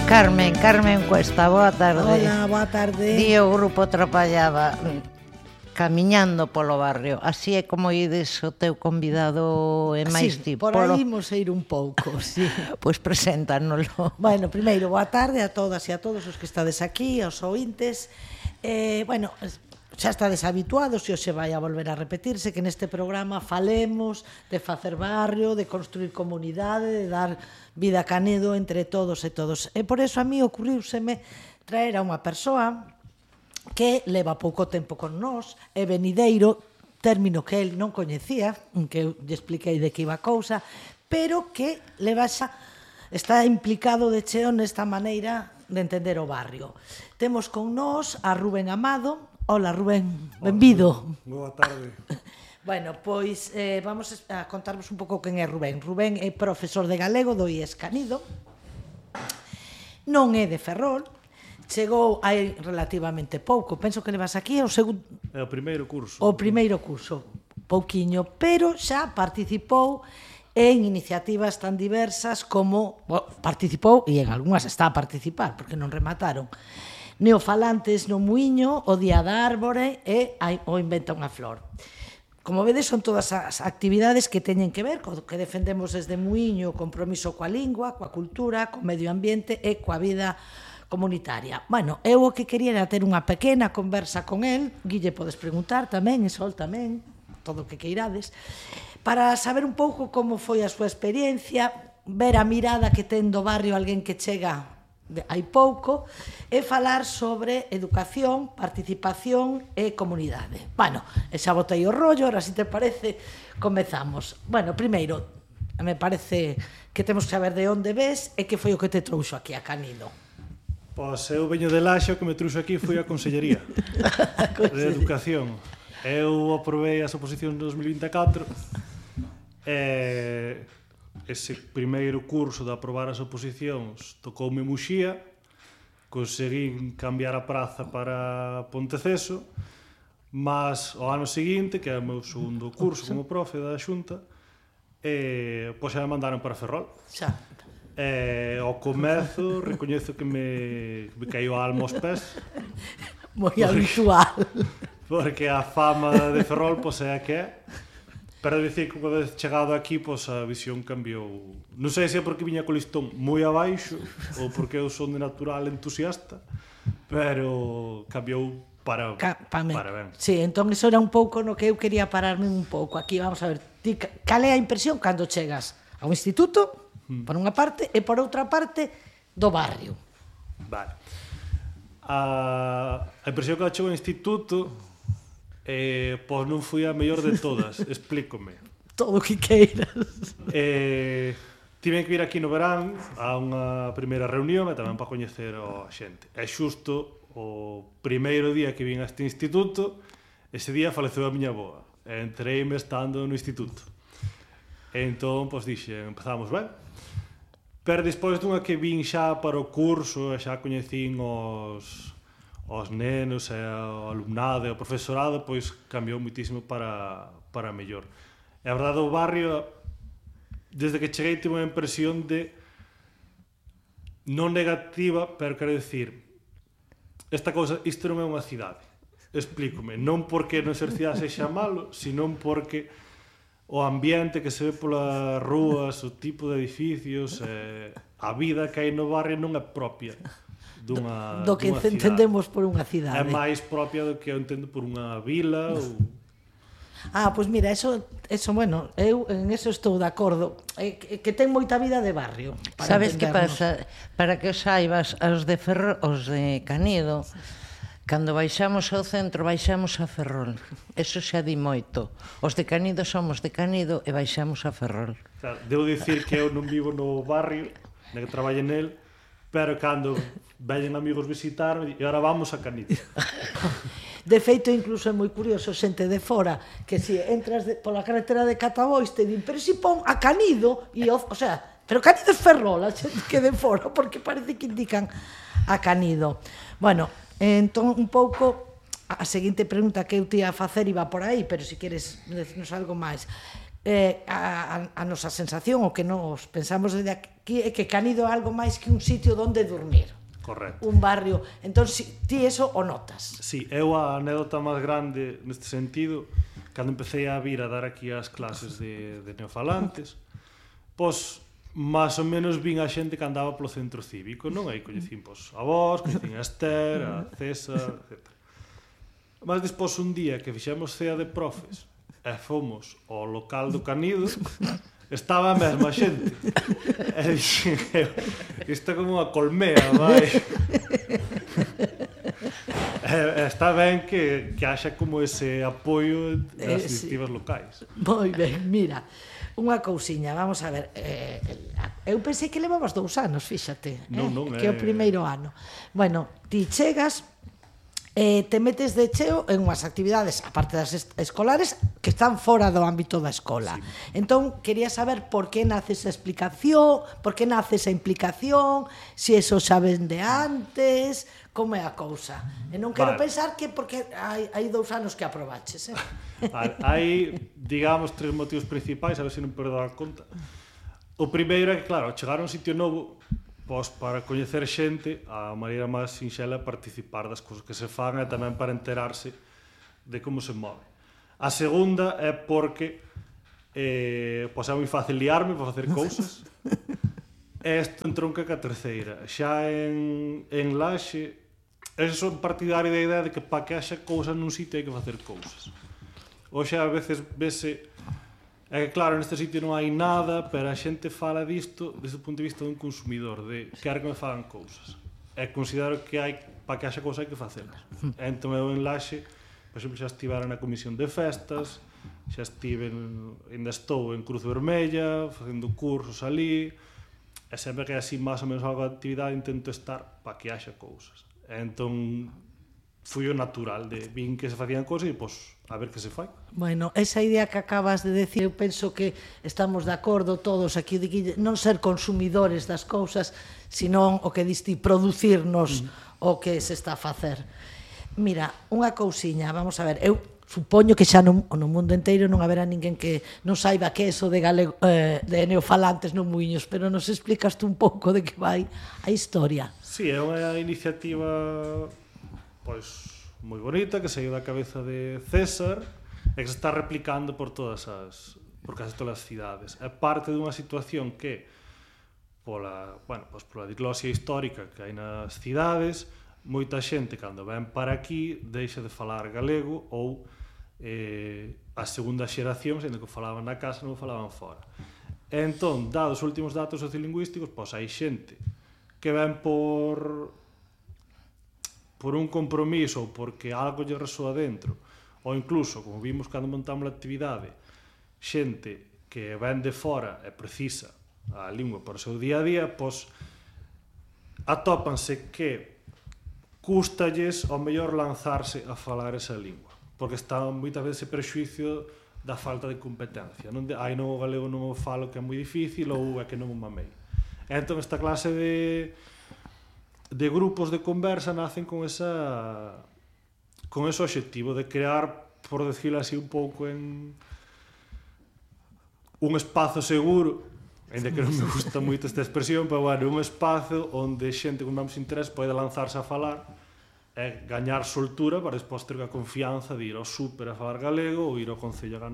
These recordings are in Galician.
Carmen Cuesta, boa tarde. Hola, boa tarde. Di o grupo trapallaba camiñando polo barrio. Así é como ides o teu convidado e máis Sí, tipo. por aí imos ir un pouco, sí. Pois preséntanoslo. Bueno, primeiro, boa tarde a todas e a todos os que estades aquí, aos ointes. Bueno, xa estades habituados e hoxe vai a volver a repetirse que neste programa falemos de facer barrio, de construir comunidade, de dar vida a Canedo entre todos e todos. E por eso a mí ocurriuseme traer a unha persoa que leva pouco tempo con nós, é venideiro, término que el non coñecía, que eu lle expliquei de que iba a cousa, pero que está implicado de cheo nesta maneira de entender o barrio. Temos con nós a Rubén Amado. Hola, Rubén, benvido. Boa tarde. Bueno, pois vamos a contarvos un pouco quen é Rubén. Rubén é profesor de galego do IES Canido, non é de Ferrol, chegou hai relativamente pouco, penso que levas aquí o segundo... É o primeiro curso. O primeiro curso, pouquiño, pero xa participou en iniciativas tan diversas como... participou, e en algunhas está a participar, porque non remataron, Neofalantes no Muiño, o Día da Árbore e o Inventa unha Flor. Como vedes, son todas as actividades que teñen que ver co que defendemos desde Muiño, o compromiso coa lingua, coa cultura, co medio ambiente e coa vida comunitaria. Bueno, eu o que quería era ter unha pequena conversa con el, Guille, podes preguntar tamén, e Sol tamén, todo o que queirades, para saber un pouco como foi a súa experiencia, ver a mirada que ten do barrio alguén que chega hai pouco, e falar sobre educación, participación e comunidade. Bueno, xa botei o rollo, ahora, se te parece, comezamos. Bueno, primeiro, me parece que temos que saber de onde ves e que foi o que te trouxo aquí a Canido. Pois eu veño de Laxa, o que me trouxo aquí foi a Consellería de Educación. Eu aprobei as oposicións de 2024 e ese primeiro curso de aprobar as oposicións tocoume Muxía, conseguín cambiar a praza para Ponteceso, mas o ano seguinte, que é o meu segundo curso como profe da Xunta, pois xa me mandaron para Ferrol. Xa. Ao comezo, recoñezo que me caiu a alma aos pés. Moi habitual. Porque a fama de Ferrol, pois é a que é. Pero dicir que unha vez chegado aquí, pois a visión cambiou. Non sei se é porque viña co listón moi abaixo ou porque eu son de natural entusiasta, pero cambiou para ben. Sí, entón iso era un pouco no que eu quería pararme un pouco. Aquí vamos a ver, ti, cal é a impresión cando chegas ao instituto, por unha parte, e por outra parte, do barrio? Vale. A impresión que chegou ao instituto, pois non foi a mellor de todas, explícome. Todo o que queiras. Tiven que vir aquí no verán a unha primeira reunión e tamén para coñecer a xente. E xusto o primeiro día que vin a este instituto, ese día faleceu a miña avoa. E entreime estando no instituto. E entón, pois dixe, empezamos ben. Pero despois dunha que vin xa para o curso e xa coñecín os nenos e o alumnado e o profesorado, pois cambiou muitísimo para mellor. E a verdade, o barrio, desde que cheguei, tive unha impresión de non negativa, pero quero dicir, esta cousa, isto non é unha cidade. Explícome, non porque non ser cidade sexa malo, senón porque o ambiente que se ve polas rúas, o tipo de edificios, a vida que hai no barrio non é propia do que entendemos por unha cidade. É máis propia do que eu entendo por unha vila ou... Pois mira, eso, bueno, eu en eso estou de acordo, que ten moita vida de barrio. Sabes que pasa? Para que os saibas, os de Canido, cando baixamos ao centro, baixamos a Ferrol. Eso xa di moito. Os de Canido somos de Canido e baixamos a Ferrol. Claro, debo dicir que eu non vivo no barrio, que traballo nel, pero cando veñen amigos visitarme, e ahora vamos a Canido. De feito, incluso é moi curioso, xente de fora, que se entras pola carretera de Catabois, te din, pero si pon a Canido, e, o sea, pero Canido é Ferrol, a xente que de fora, porque parece que indican a Canido. Bueno, entón, un pouco, a seguinte pregunta que eu te ia facer iba por aí, pero se queres decirnos algo máis. a nosa sensación, o que nos pensamos desde aquí, é que Canido é algo máis que un sitio onde dormir. Correcto. Un barrio. Entón, ti eso o notas? Sí, eu a anécdota máis grande neste sentido, cando empecé a vir a dar aquí as clases de neofalantes, pois, máis ou menos vin a xente que andaba polo centro cívico, non? Aí coñecín, pois, a vos, coñecín a Esther, a César, etc. Mas despois un día que fixemos cea de profes e fomos ao local do Canido, estaba a mesma xente. E dixen, isto é como unha colmea, vai. Está ben que haxa como ese apoio das iniciativas locais. Moi ben, mira, unha cousiña, vamos a ver, eu pensei que levabas 2 anos, fíxate, non, que é o primeiro ano. Bueno, ti chegas, te metes de cheo en unhas actividades, aparte das escolares, que están fora do ámbito da escola. Sí. Entón, quería saber por que nace esa explicación, por que nace esa implicación, se eso xa ven de antes, como é a cousa. E non quero pensar que porque hai 2 anos que aprobaches. Hai, digamos, 3 motivos principais, a ver se non perdo a conta. O primeiro é que, claro, chegar a un sitio novo, pois para coñecer xente, a maneira máis sinxela é participar das cousas que se fan e tamén para enterarse de como se move. A segunda é porque pois é moi fácil liarme para facer cousas e isto entronca ca terceira. Xa en Laxe, eu son partidario da idea de que para que haxa cousas nun sitio hai que facer cousas. Oxe, a veces vese é que claro, neste sitio non hai nada, pero a xente fala disto desde o punto de vista dun consumidor, de quero que me fagan cousas. E considero que hai, para que haxa cousas hai que facelas. Entón eu en Laxe, por exemplo, xa estivera na comisión de festas, xa ainda estou en Cruz Vermella, facendo cursos ali, e sempre que hai así máis ou menos algo de actividade intento estar para que haxa cousas. Entón, foi o natural de vin que se facían cousas e, pois, a ver que se fai. Bueno, esa idea que acabas de decir, eu penso que estamos de acordo todos aquí de que non ser consumidores das cousas, senón o que diste producirnos o que se está a facer. Mira, unha cousiña, vamos a ver, eu supoño que xa no mundo inteiro non haberá ninguén que non saiba que é eso de neofalantes no Muiños, pero nos explicas tú un pouco de que vai a historia. Sí, é unha iniciativa pois moi bonita, que saiu da cabeza de César e que se está replicando por case todas as cidades. É parte dunha situación que pola diglosia histórica que hai nas cidades, moita xente cando ven para aquí deixa de falar galego ou a segunda xeración, sendo que falaban na casa, non falaban fora. E entón, dados os últimos datos sociolingüísticos, pois hai xente que ven por un compromiso ou porque algo lle resoa dentro, ou incluso, como vimos cando montamos a actividade, xente que ven de fora e precisa a lingua para o seu día a día, pois atópanse que cústalles ao mellor lanzarse a falar esa lingua, porque está moitas veces ese prexuicio da falta de competencia, non o galego non o falo que é moi difícil ou é que non o mamei. Entón esta clase de grupos de conversa nacen con ese obxectivo de crear, por decirlo así un pouco, en un espazo seguro, ainda que non me gusta moito esta expresión, pero bueno, un espazo onde xente con máis interés pode lanzarse a falar e gañar soltura para despois ter a confianza de ir ao súper a falar galego ou ir ao concello a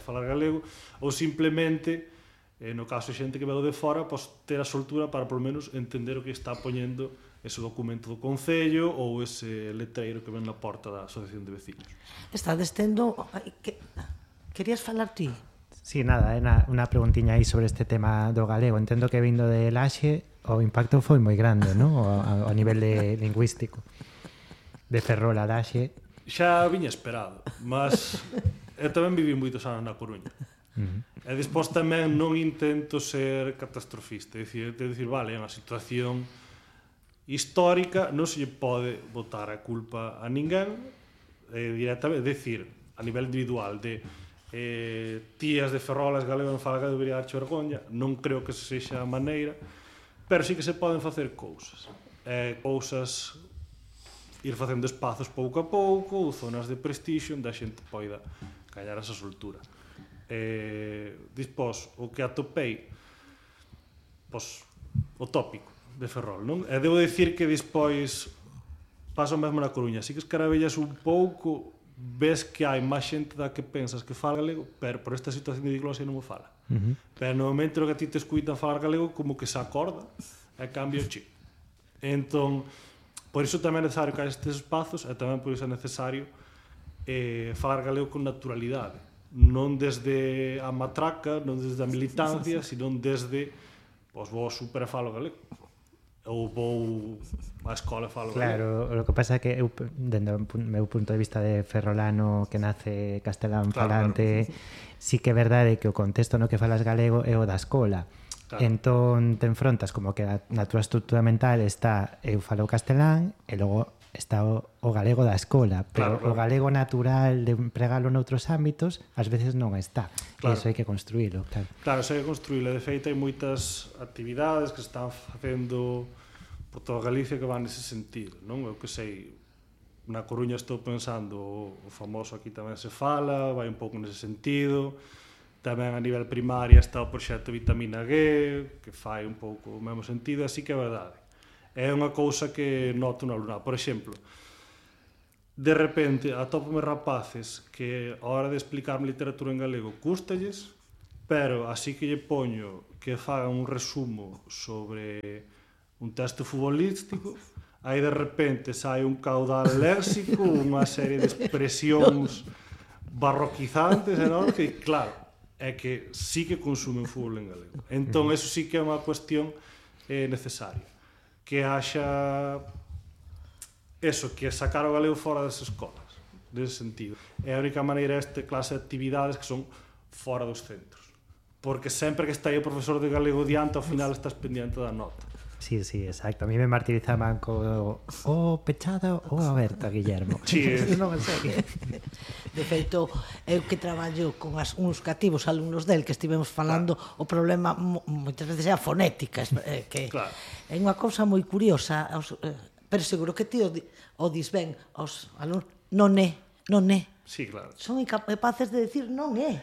falar galego ou simplemente, no caso de xente que veu de fora, ter a soltura para polo menos entender o que está poñendo ese documento do Concello ou ese letreiro que ven na porta da Asociación de Veciños. Estades tendo... Querías falar ti? Sí, nada, é unha preguntiña aí sobre este tema do galego. Entendo que vindo de Laxe o impacto foi moi grande, non? A nivel lingüístico. De Ferrol a Laxe. Xa viña esperado, mas eu tamén viví moitos anos na Coruña. E despois tamén non intento ser catastrofista, é dicir, vale, é unha situación histórica, non se lle pode botar a culpa a ninguén, directamente, decir, a nivel individual, de tías de Ferrol, as galegas non falan que debería darche vergoña, non creo que sexa a maneira, pero sí que se poden facer cousas. Ir facendo espazos pouco a pouco, ou zonas de prestixio onde a xente poida gañar esa soltura. Dispós, o que atopei, pois, o tópico de Ferrol, non? E debo dicir que despois pasa o mesmo na Coruña, así que escaravellas un pouco, ves que hai máis xente da que pensas que fala galego, pero por esta situación de diglosia non o fala. Pero no momento que a ti te escuitan falar galego, como que se acorda e cambia o chip. Entón, por iso tamén é necesario que hai estes espazos, e tamén por iso é necesario falar galego con naturalidade, non desde a matraca, non desde a militancia, sino desde, pois vou super e falo galego, ou vou á escola e falo galego. Claro, o que pasa é que eu, dende o meu punto de vista de ferrolano que nace castelán falante, sí que é verdade que o contexto no que falas galego é o da escola. Claro. Entón te enfrontas como que na túa estrutura mental está eu falo castelán e logo está o galego da escola, pero o galego natural de empregalo noutros ámbitos ás veces non está. Claro. E iso hai que construílo. Claro, iso hai que construílo. De feito, hai moitas actividades que se están facendo por toda Galicia que van nese sentido, non? Eu que sei, na Coruña estou pensando, o famoso aquí tamén se fala, vai un pouco nese sentido. Tamén a nivel primaria está o proxecto Vitamina G, que fai un pouco o mesmo sentido, así que é verdade. É unha cousa que noto no alumnado. Por exemplo, de repente atópome rapaces que a hora de explicarme literatura en galego cústalles, pero así que lle poño que fagan un resumo sobre un texto futbolístico, aí de repente sai un caudal léxico, unha serie de expresións barroquizantes, enormes, que claro, é que sí que consumen fútbol en galego. Entón, eso sí que é unha cuestión necesaria. Que haxa eso, que sacar o galego fora das escolas, nese sentido. É a única maneira esta clase de actividades que son fora dos centros. Porque sempre que está aí o profesor de galego diante, ao final estás pendiente da nota. Sí, exacto. A mí me martirizaban co pechado ou aberto, Guillermo. Sí, non sei. De feito, eu que traballo con uns cativos alumnos del que estivemos falando, o problema moitas veces é a fonética, que claro. É unha cousa moi curiosa, pero seguro que ti o dis ben aos alumnos, non é. Sí, claro. Son incapaces de decir non é.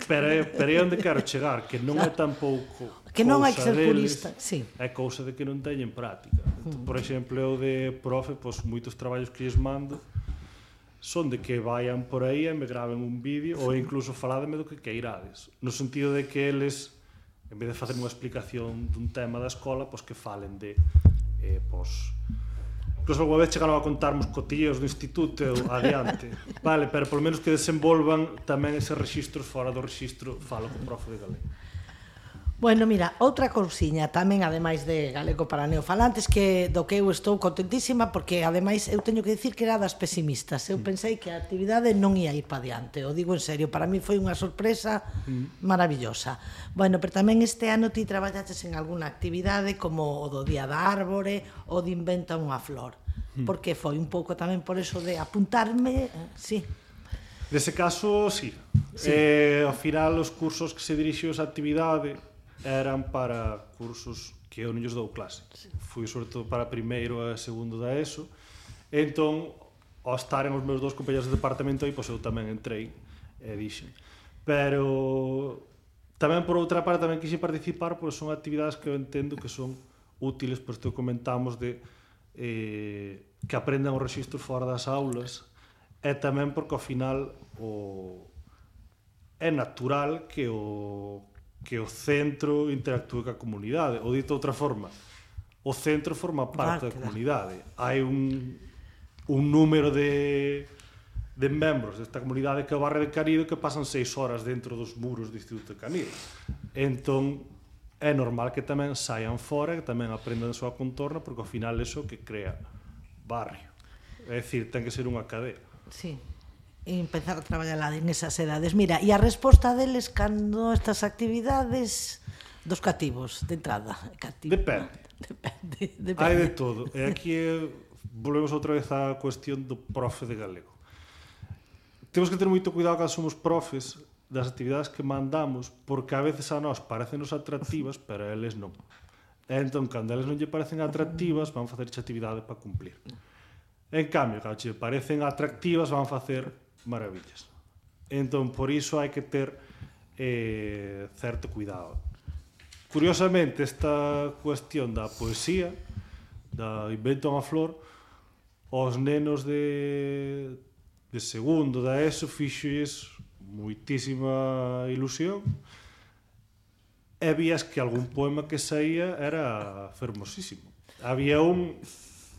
Pero é onde quero chegar, que non é tampouco que non hai que ser deles, purista, sí. É cousa de que non teñen práctica. Por exemplo, eu de profe, pois moitos traballos que lles mando son de que vayan por aí e me graven un vídeo ou incluso faládeme do que queirades, no sentido de que eles, en vez de facer unha explicación dun tema da escola, pois que falen de pois incluso alguna vez chegaron a contarmos cotillos do instituto adiante, vale, pero polo menos que desenvolvan tamén eses rexistros fora do rexistro falo con profe de galego. Bueno, mira, outra cousiña tamén, ademais de galego para neofalantes, que do que eu estou contentísima, porque ademais eu teño que dicir que era das pesimistas. Eu pensei que a actividade non ia ir para diante, o digo en serio, para mí foi unha sorpresa maravillosa. Bueno, pero tamén este ano ti traballaches en algunha actividade como o do Día da Árbore, o de Inventa unha Flor, porque foi un pouco tamén por eso de apuntarme, sí. Nese caso, sí. Ao final, os cursos que se dirixiu esa actividade eran para cursos que eu non lles dou clase. Fui sobre todo para primeiro e segundo da ESO. Entón, ao estaren os meus dous compañeros de departamento aí, pois eu tamén entrei e dixen. Pero tamén por outra parte tamén quixen participar, porque son actividades que eu entendo que son útiles, pois te comentamos de que aprendan os rexistros fora das aulas, e tamén porque ao final é natural que o centro interactúe ca comunidade, ou dito de outra forma, o centro forma parte da comunidade. Hai un número de membros desta comunidade que é o barrio de Canido que pasan 6 horas dentro dos muros do Instituto de Canido. Entón, é normal que tamén saian fora, que tamén aprendan a súa contorna, porque ao final é iso que crea barrio. É dicir, ten que ser unha cadea. Sí. E empezar a traballar en esas edades. Mira, e a resposta deles cando estas actividades dos cativos, de entrada? Depende. Depende. Hai de todo. E aquí volvemos outra vez á cuestión do profe de galego. Temos que ter moito cuidado cando somos profes das actividades que mandamos, porque a veces a nós parecennos atractivas, pero a eles non. E entón, cando a eles non lle parecen atractivas, van facer esa actividade para cumplir. En cambio, cando che parecen atractivas, van facer maravillas. Entón, por iso hai que ter certo cuidado. Curiosamente, esta cuestión da poesía, da invento unha flor, os nenos de segundo da ESO fixoes moitísima ilusión, e vías que algún poema que saía era fermosísimo. Había un,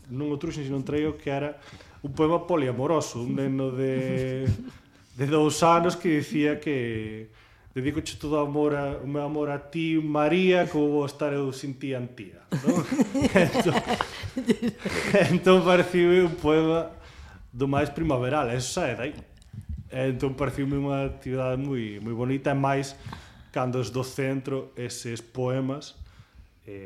non o truxen, sino un traio, que era un poema poliamoroso, un neno de 2 anos que dicía que dedicoche todo o meu amor a ti, María, como vou estar eu sin ti, Antía, non? Entón pareciu un poema do máis primaveral, eso sae dai. Entón pareciu unha actividade moi bonita, e máis cando es do centro eses poemas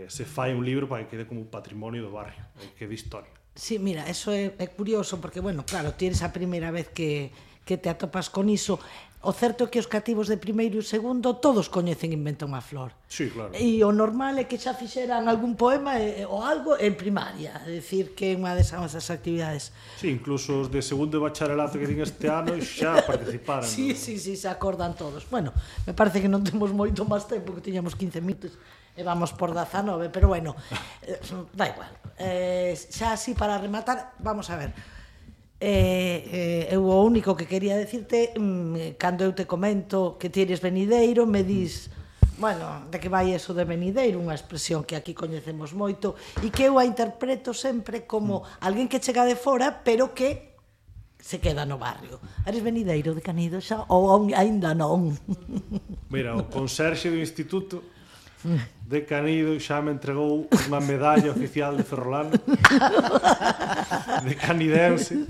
se fai un libro para que quede como patrimonio do barrio, que de historia. Sí, mira, eso é curioso, porque, bueno, claro, ti eres a primeira vez que te atopas con iso. O certo é que os cativos de primeiro e segundo todos coñecen Inventa unha flor. Sí, claro. E o normal é que xa fixeran algún poema ou algo en primaria, é dicir, que é unha desas actividades. Sí, incluso os de segundo de bacharelato que din este ano xa participaron. Sí, se acordan todos. Bueno, me parece que non temos moito máis tempo, que tiñamos 15 minutos e vamos por 19, pero bueno, da igual. Xa así para rematar, vamos a ver. Eu o único que quería decirte, cando eu te comento que ti eres venideiro, me dis, bueno, de que vai eso de venideiro, unha expresión que aquí coñecemos moito, e que eu a interpreto sempre como alguén que chega de fora, pero que se queda no barrio. Eres venideiro de Canido xa ou aínda non? Mira, o conserxe do instituto de Canido xa me entregou unha medalla oficial de ferrolano de canidense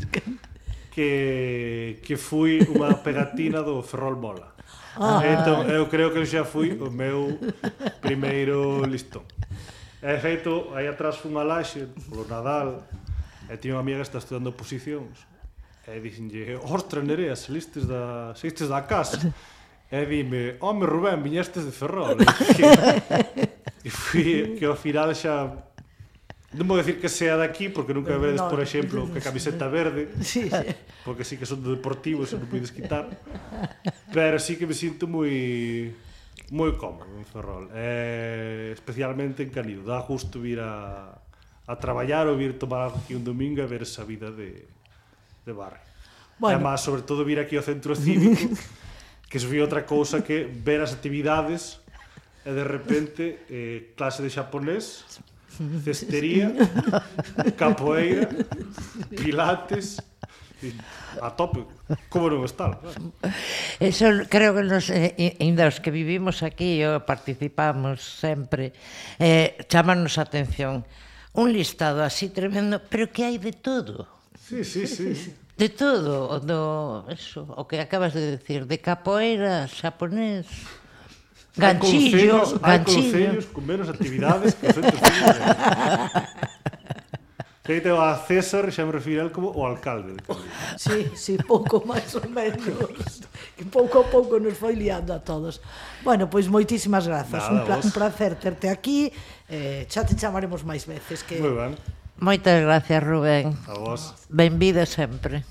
que fui unha pegatina do Ferrol Mola. Entón, eu creo que xa fui o meu primeiro listón. E feito, aí atrás fui unha laxe polo Nadal, e tiña unha amiga que está estudando oposicións, e dixenlle, ostra, Nerea, saístes da casa. E dime, home, Rubén, viñestes de Ferrol. E fui, que ao final xa... Non vou decir que sea daqui, porque nunca vedes, por exemplo, que camiseta verde, porque sí que son do Deportivo, se non podes quitar. Pero sí que me sinto moi cómodo en Ferrol. Especialmente en Canido. Dá gusto vir a traballar ou vir tomar algo aquí un domingo e ver esa vida de barrio. Bueno. Además, sobre todo, vir aquí ao centro cívico, que se foi outra cousa que ver as actividades e de repente clase de xaponés, cestería, capoeira, pilates, a tope, como non está? Eso creo que ainda os que vivimos aquí ou participamos sempre, chámanos a atención un listado así tremendo, pero que hai de todo. Sí. De todo, eso, o que acabas de decir, de capoeira, xaponés, ganchillo. Hai concellos con menos actividades que os centros cívicos. Feito a César, xa me refiro a él como o alcalde de Canido. Sí, pouco máis ou menos. Que pouco a pouco nos foi liando a todos. Bueno, pois moitísimas grazas. Un placer terte aquí. Xa te chamaremos máis veces. Moi ben. Moitas gracias, Rubén. A vos. Benvido sempre.